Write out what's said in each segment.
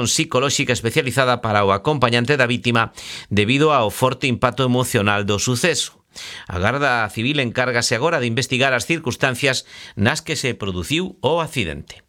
psicolóxica especializada para o acompañante da vítima debido ao forte impacto emocional do suceso. A Garda Civil encárgase agora de investigar as circunstancias nas que se produciu o accidente.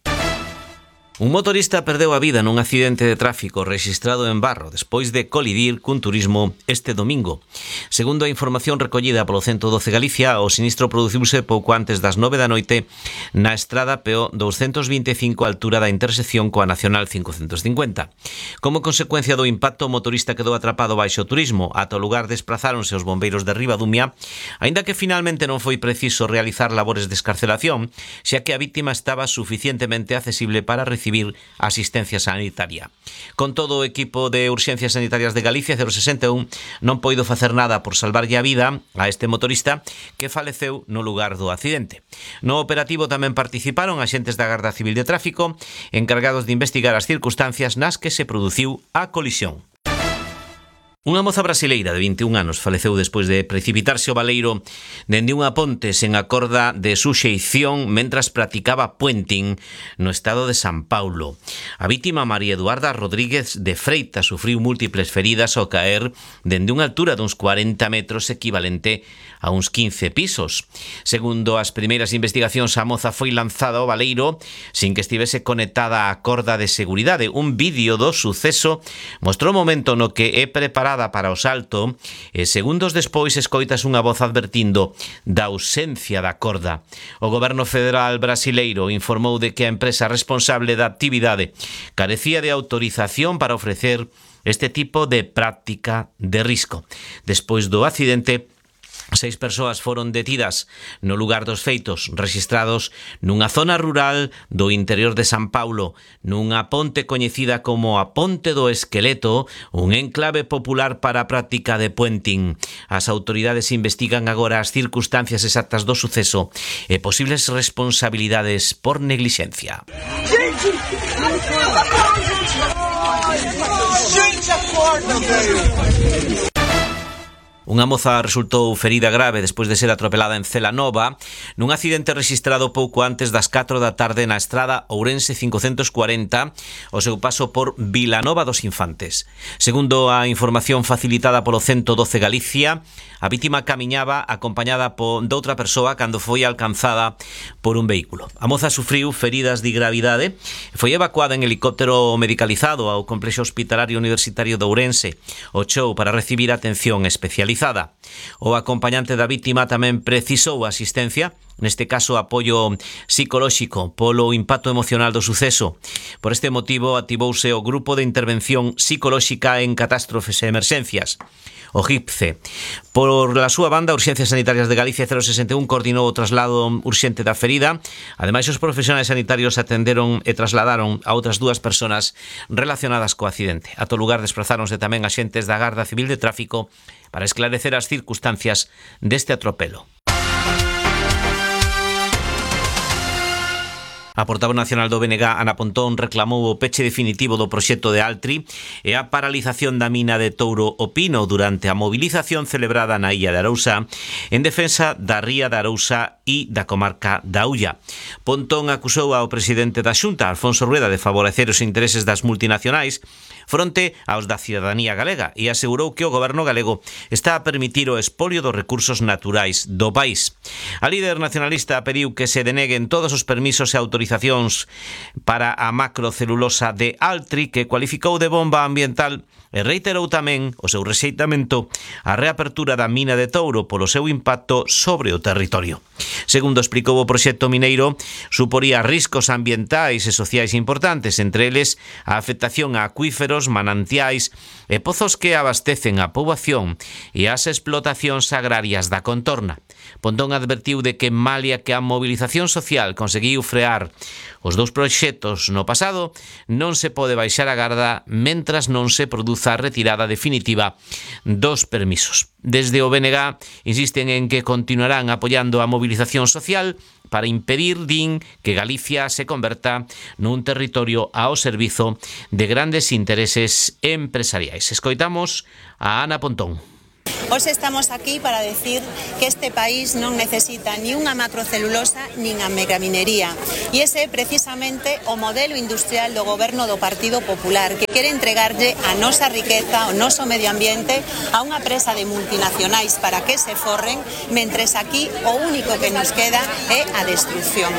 Un motorista perdeu a vida nun accidente de tráfico rexistrado en Barro despois de colidir cun turismo este domingo. Segundo a información recollida polo 112 Galicia, o sinistro produciuse pouco antes das 9 da noite na estrada PO 225 á altura da intersección coa Nacional 550. Como consecuencia do impacto, o motorista quedou atrapado baixo o turismo. Ata o lugar desprazáronse os bombeiros de Ribadumia, aínda que finalmente non foi preciso realizar labores de escarcelación, xa que a vítima estaba suficientemente accesible para recibir asistencia sanitaria. Con todo, o equipo de urxencias sanitarias de Galicia 061 non poido facer nada por salvarlle a vida a este motorista que faleceu no lugar do accidente. No operativo tamén participaron axentes da Garda Civil de Tráfico encargados de investigar as circunstancias nas que se produciu a colisión. Unha moza brasileira de 21 anos faleceu despois de precipitarse ao baleiro dende unha ponte sen a corda de suxeición mentras practicaba puenting no estado de San Paulo. A vítima, María Eduarda Rodríguez de Freitas, sufriu múltiples feridas ao caer dende unha altura duns 40 metros equivalente a uns 15 pisos. Segundo as primeiras investigacións, a moza foi lanzada ao baleiro sin que estivese conectada á corda de seguridade. Un vídeo do suceso mostrou o momento no que é preparada para o salto e segundos despois escoitas unha voz advertindo da ausencia da corda. O goberno federal brasileiro informou de que a empresa responsable da actividade carecía de autorización para ofrecer este tipo de práctica de risco. Despois do accidente, 6 persoas foron detidas no lugar dos feitos, rexistrados nunha zona rural do interior de San Paulo, nunha ponte coñecida como a Ponte do Esqueleto, un enclave popular para a práctica de puenting. As autoridades investigan agora as circunstancias exactas do suceso e posibles responsabilidades por neglixencia. Unha moza resultou ferida grave despois de ser atropelada en Celanova nun accidente rexistrado pouco antes das 4 da tarde na estrada Ourense 540 ao seu paso por Vilanova dos Infantes. Segundo a información facilitada polo 112 Galicia, a vítima camiñaba acompañada doutra persoa cando foi alcanzada por un vehículo. A moza sufriu feridas de gravidade e foi evacuada en helicóptero medicalizado ao complexo hospitalario universitario de Ourense, o Chou, para recibir atención especializada. O acompañante da vítima tamén precisou asistencia, neste caso apoio psicolóxico polo impacto emocional do suceso. Por este motivo activouse o Grupo de Intervención Psicolóxica en Catástrofes e Emerxencias, o GIPCE. Por la súa banda, Urxencias Sanitarias de Galicia 061 coordinou o traslado urxente da ferida. Ademais, os profesionais sanitarios atenderon e trasladaron a outras 2 persoas relacionadas co accidente. A todo lugar desprazáronse tamén axentes da Garda Civil de Tráfico para esclarecer as circunstancias deste atropelo. A portavoz nacional do BNG, Ana Pontón, reclamou o peche definitivo do proxecto de Altri e a paralización da mina de Touro o Pino durante a movilización celebrada na Illa de Arousa en defensa da ría de Arousa e da comarca da Ulla. Pontón acusou ao presidente da Xunta, Alfonso Rueda, de favorecer os intereses das multinacionais fronte aos da cidadanía galega e asegurou que o goberno galego está a permitir o expolio dos recursos naturais do país. A líder nacionalista pediu que se deneguen todos os permisos e autorizacións para a macrocelulosa de Altri, que cualificou de bomba ambiental, e reiterou tamén o seu rexeitamento á reapertura da mina de Touro polo seu impacto sobre o territorio. Segundo explicou, o proxecto mineiro suporía riscos ambientais e sociais importantes, entre eles a afectación a acuíferos, manantiais e pozos que abastecen a poboación e as explotacións agrarias da contorna. Pontón advertiu de que, malia que a movilización social conseguiu frear os 2 proxectos no pasado, non se pode baixar a garda mentras non se produza a retirada definitiva dos permisos. Desde o BNG insisten en que continuarán apoiando a movilización social para impedir, din, que Galicia se converta nun territorio ao servizo de grandes intereses empresariais. Escoitamos a Ana Pontón. Hoxe estamos aquí para decir que este país non necesita ni unha macrocelulosa nin a megaminería. E ese é precisamente o modelo industrial do goberno do Partido Popular, que quere entregarlle a nosa riqueza, o noso medio ambiente, a unha presa de multinacionais para que se forren, mentres aquí o único que nos queda é a destrucción.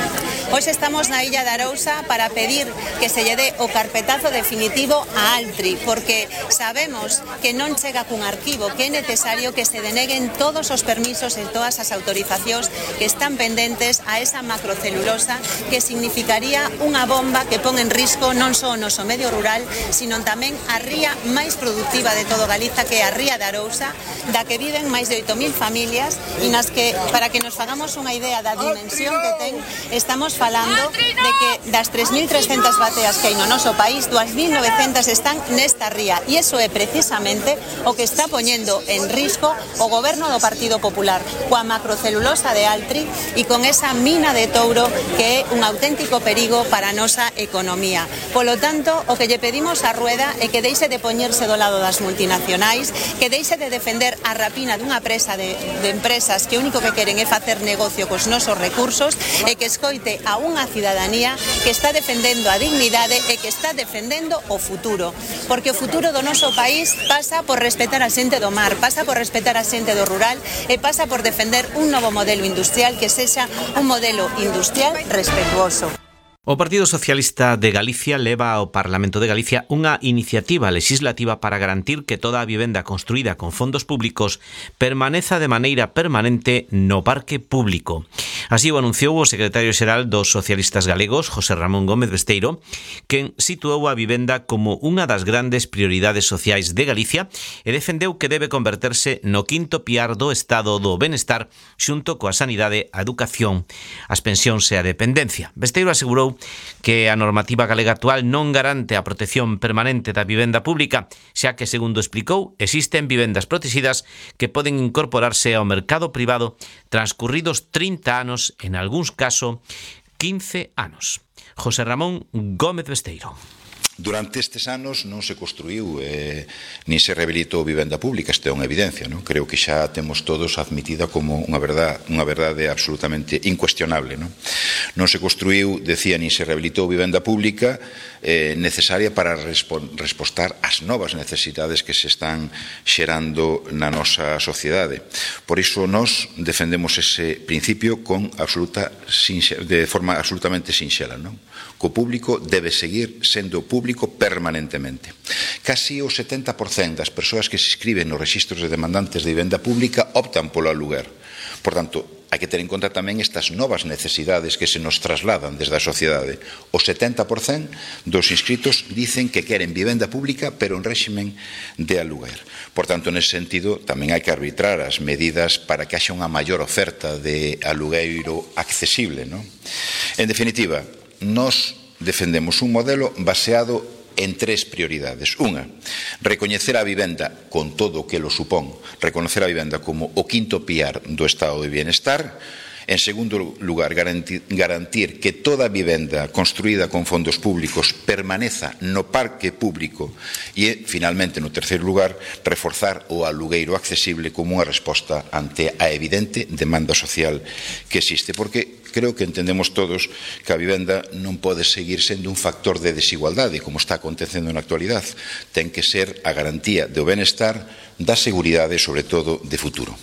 Hoxe estamos na Illa de Arousa para pedir que se lle dé o carpetazo definitivo a Altri, porque sabemos que non chega cun arquivo, que é necesario que se deneguen todos os permisos e todas as autorizacións que están pendentes a esa macrocelulosa, que significaría unha bomba que pon en risco non só o noso medio rural, sino tamén a ría máis productiva de todo Galiza, que é a ría de Arousa, da que viven máis de 8.000 familias, e nas que, para que nos fagamos unha idea da dimensión que ten, estamos falando de que das 3.300 bateas que hai no noso país, 2.900 están nesta ría, e iso é precisamente o que está poñendo en risco o goberno do Partido Popular, coa macrocelulosa de Altri e con esa mina de Touro, que é un auténtico perigo para a nosa economía. Polo tanto, o que lle pedimos a Rueda é que deixe de poñerse do lado das multinacionais, que deixe de defender a rapina dunha presa de empresas que o único que queren é facer negocio cos nosos recursos, e que escoite a unha cidadanía que está defendendo a dignidade e que está defendendo o futuro, porque o futuro do noso país pasa por respetar a xente do mar, pasa por respetar a xente do rural e pasa por defender un novo modelo industrial que sexa un modelo industrial respetuoso. O Partido Socialista de Galicia leva ao Parlamento de Galicia unha iniciativa legislativa para garantir que toda a vivenda construída con fondos públicos permaneza de maneira permanente no parque público. Así o anunciou o secretario xeral dos socialistas galegos, José Ramón Gómez Besteiro, quen situou a vivenda como unha das grandes prioridades sociais de Galicia e defendeu que debe converterse no quinto piar do estado do benestar xunto coa sanidade, a educación, as pensións e a dependencia. Besteiro asegurou que a normativa galega actual non garante a protección permanente da vivenda pública, xa que, segundo explicou, existen vivendas protegidas que poden incorporarse ao mercado privado transcurridos 30 anos, en algúns casos 15 anos. José Ramón Gómez Besteiro. Durante estes anos non se construiu nin se rehabilitou vivenda pública, isto é unha evidencia, non? Creo que xa temos todos admitida como unha verdade absolutamente incuestionable, non? Non se construiu, decía, nin se rehabilitou vivenda pública necesaria para respostar ás novas necesidades que se están xerando na nosa sociedade. Por iso nós defendemos ese principio de forma absolutamente sinxela, non? Co público debe seguir sendo público permanentemente. Casi o 70% das persoas que se inscriben nos rexistros de demandantes de vivenda pública optan polo aluguer. Por tanto, hai que ter en conta tamén estas novas necesidades que se nos trasladan desde a sociedade. O 70% dos inscritos dicen que queren vivenda pública, pero en réximen de aluguer. Por tanto, nese sentido, tamén hai que arbitrar as medidas para que haxa unha maior oferta de alugueiro accesible, non? En definitiva, nós defendemos un modelo baseado en tres prioridades. Unha, recoñecer a vivenda con todo o que lo supón, reconocer a vivenda como o quinto piar do estado de bienestar. En segundo lugar, garantir que toda vivenda construída con fondos públicos permaneza no parque público e, finalmente, no terceiro lugar, reforzar o alugueiro accesible como unha resposta ante a evidente demanda social que existe, porque creo que entendemos todos que a vivenda non pode seguir sendo un factor de desigualdade, como está acontecendo na actualidade. Ten que ser a garantía do benestar, da seguridade e, sobre todo, de futuro.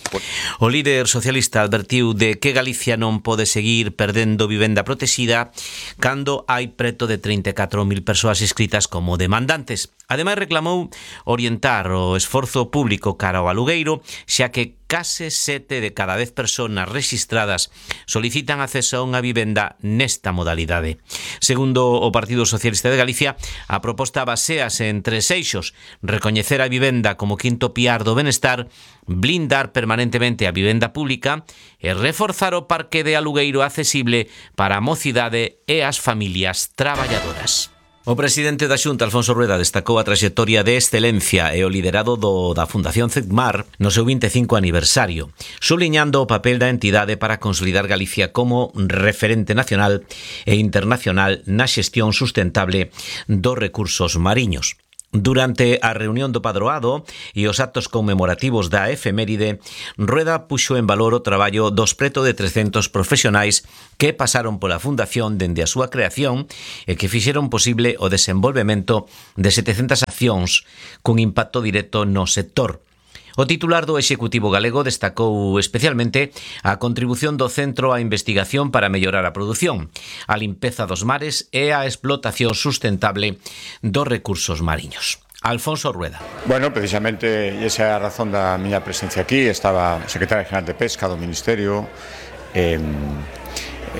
O líder socialista advertiu de que Galicia non pode seguir perdendo vivenda protexida cando hai preto de 34.000 persoas inscritas como demandantes. Ademais, reclamou orientar o esforzo público cara ao alugueiro, xa que case 7 de cada 10 persoas rexistradas solicitan acceso a unha vivenda nesta modalidade. Segundo o Partido Socialista de Galicia, a proposta basease en tres eixos: recoñecer a vivenda como quinto piar do benestar, blindar permanentemente a vivenda pública e reforzar o parque de alugueiro accesible para a mocidade e as familias traballadoras. O presidente da Xunta, Alfonso Rueda, destacou a traxectoria de excelencia e o liderado da Fundación CEDMAR no seu 25 aniversario, subliñando o papel da entidade para consolidar Galicia como referente nacional e internacional na xestión sustentable dos recursos mariños. Durante a reunión do Padroado e os actos conmemorativos da efeméride, Rueda puxo en valor o traballo dos preto de 300 profesionais que pasaron pola Fundación dende a súa creación e que fixeron posible o desenvolvemento de 700 accións cun impacto directo no sector. O titular do Executivo galego destacou especialmente a contribución do Centro á investigación para mellorar a produción, a limpeza dos mares e a explotación sustentable dos recursos mariños. Alfonso Rueda. Bueno, precisamente esa é a razón da miña presencia aquí. Estaba o secretario general de Pesca do Ministerio,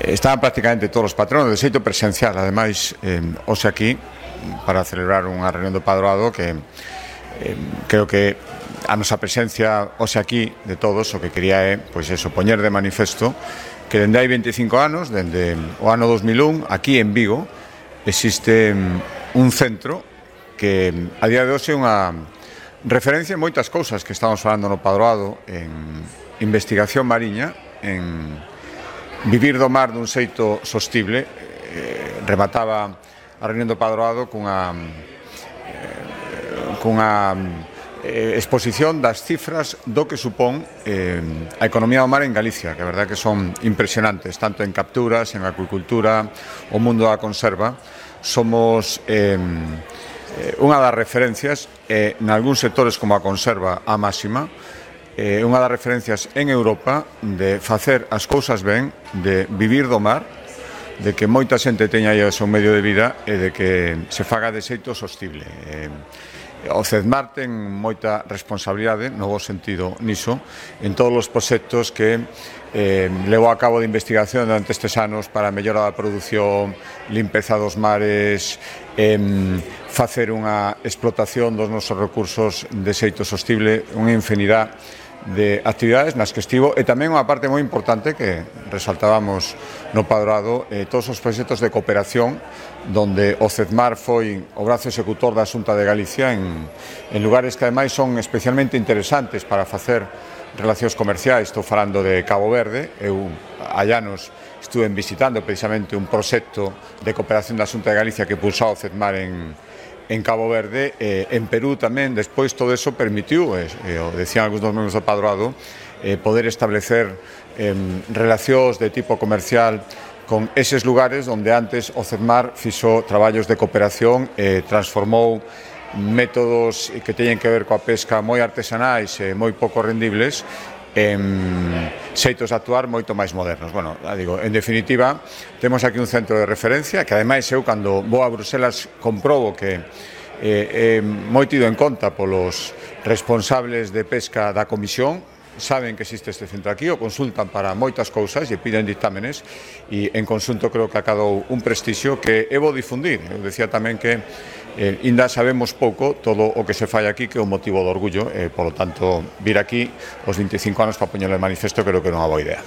estaban prácticamente todos os patronos de xeito presencial, ademais, hoxe aquí para celebrar unha reunión do Padroado que creo que a nosa presencia hoxe aquí de todos o que quería é, pois eso, poñer de manifesto que dende hai 25 anos, dende o ano 2001, aquí en Vigo, existe un centro que a día de hoxe é unha referencia en moitas cousas que estamos falando no Padroado, en investigación mariña, en vivir do mar dun xeito sostible. Remataba a reunión do Padroado cunha exposición das cifras do que supón a economía do mar en Galicia, que a verdade que son impresionantes, tanto en capturas, en acuicultura, o mundo da conserva. Somos unha das referencias en algúns sectores como a conserva a máxima, unha das referencias en Europa de facer as cousas ben, de vivir do mar, de que moita xente teña aí o seu medio de vida e de que se faga de xeito sostible. O CEDMAR ten moita responsabilidade, no bo sentido niso, en todos os proxectos que levou a cabo de investigación durante estes anos para a mellora da produción, limpeza dos mares, facer unha explotación dos nosos recursos de xeito sostible, unha infinidade de actividades nas que estivo, e tamén unha parte moi importante que resaltábamos no Padroado, todos os proxectos de cooperación donde o CEDMAR foi o brazo executor da Xunta de Galicia en lugares que ademais son especialmente interesantes para facer relacións comerciais. Estou falando de Cabo Verde. Eu hai anos estuve visitando precisamente un proxecto de cooperación da Xunta de Galicia que pulsou o CEDMAR en Cabo Verde, en Perú tamén. Despois todo eso permitiu, o decían algúns dos membros do Padroado, poder establecer relacións de tipo comercial con eses lugares onde antes o CEDMAR fixo traballos de cooperación, transformou métodos que teñen que ver coa pesca moi artesanais e moi pouco rendibles en xeitos de actuar moito máis modernos. Bueno, digo, en definitiva, temos aquí un centro de referencia que ademais eu cando vou a Bruselas comprobo que é moi tido en conta polos responsables de pesca da Comisión. Saben que existe este centro aquí, o consultan para moitas cousas e piden dictámenes, e en conxunto creo que acadou un prestixio que é bo difundir. Eu decía tamén que ainda sabemos pouco todo o que se fai aquí, que é un motivo de orgullo, polo tanto, vir aquí os 25 anos para poñerle manifesto creo que é unha boa idea.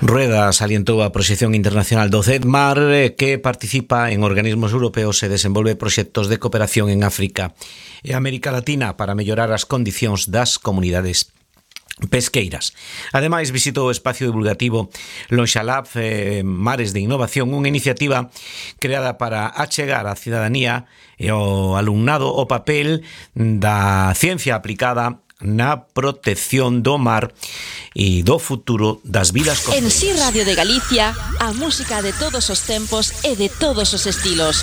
Rueda salientou a proxección internacional do CEDMAR, que participa en organismos europeos e desenvolve proxectos de cooperación en África e América Latina para mellorar as condicións das comunidades pesqueiras. Ademais, visitou o espacio divulgativo Lonxalab Mares de Innovación, unha iniciativa creada para achegar á cidadanía e ao alumnado o papel da ciencia aplicada na protección do mar e do futuro das vidas costeiras. En Si Radio de Galicia, a música de todos os tempos e de todos os estilos.